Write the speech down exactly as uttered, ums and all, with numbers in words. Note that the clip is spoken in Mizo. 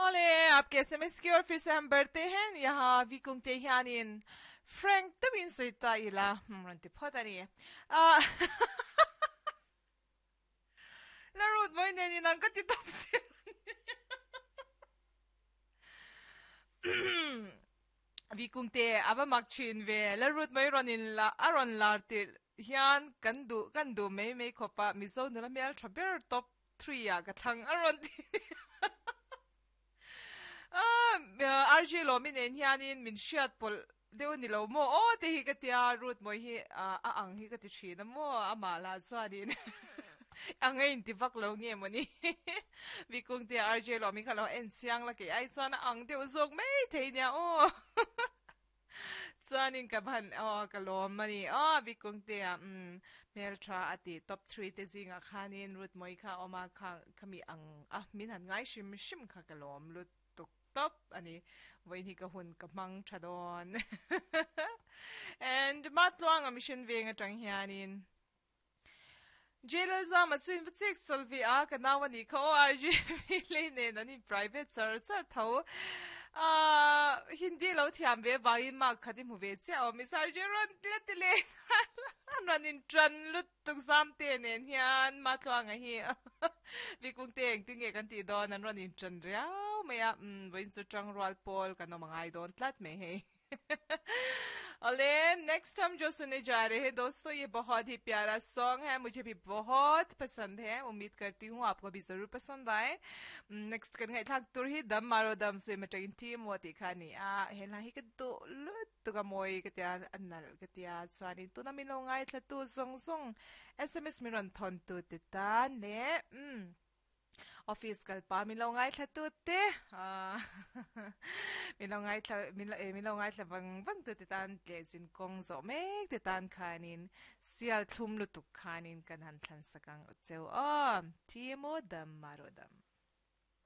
Ole, आपके S M S की ओर फिर से हम बढ़ते हैं। यहाँ vikungte hianin Frank takin sawi ta ila rawn ti phawt a ni. Ah la rut mai nen in ang ka ti tawp zel a ni. Vikungte a va mak thin ve, la rut mai rawn in la a rawn lar tirh hian kan duh kan duh mai mai khawp a, Mizo nula hmel tha ber top three ah ka thlang a rawn ti a. R J Lawmi nen hianin min hriat pawlh deuh a ni lo maw aw te hi ka tia, Ruth mawi hi a ang hi ka ti thin a maw, amah lah chuanin ang a inti vak lo nge mawni. Vikung te R J Lawmi kha lo en chiang la, kei ai chuan a ang deuh zawk mai thei nia aw. Chuanin ka ban aw ka lawm a ni aw Vikung te a umm hmeltha a ti top three te zingah khanin Ruth mawi kha a awm a, kha khami ang a min han ngai hrim hrim kha ka lawm lutuk tawp a ni. Vawiin hi ka hun ka hmang tha dawn. And Matluanga Mission veng atang hianin Jail zama chu in va chek chawlh ve a, ka nau a nih kha aw R J V lei nen an in private char char tho. Ahh Hindi lo thiam ve vangin mark khat i hmu ve chiah awm i Sir J rawn la ti leh nghal a, an rawn in tan lutuk zam te nen hian Matluanga hi Vikung te engtin nge kan tih dawn an rawn in tan riau mai a, umm vawiin chu tangrual pawl kan awm a ngai dawn tlat mai hei. Ole, next हम जो सुनने जा रहे हैं दोस्तों, ये बहुत ही प्यारा सॉन्ग है, मुझे भी बहुत पसंद है। उम्मीद करती हूँ आपको भी जरूर पसंद आए। Next kan ngai thlak tur hi Dam Maro Dam film atangin team wo ti kha ni a, he hla hi ka duh lutuk a, mawi ka tia, a nalh ka tia. Chuanin tuna min lo ngai thla tu zawng zawng, S M S min rawn thawn tu te tan leh um office kal pa min lo ngai thla tu te, min lo ngai thla min lo min lo ngai thla vang vang tu te tan leh zin kawng zawh mek te tan khanin sial thlum lutuk khanin kan han thlan sak ang cheu aw. Timo Dam Maro Dam.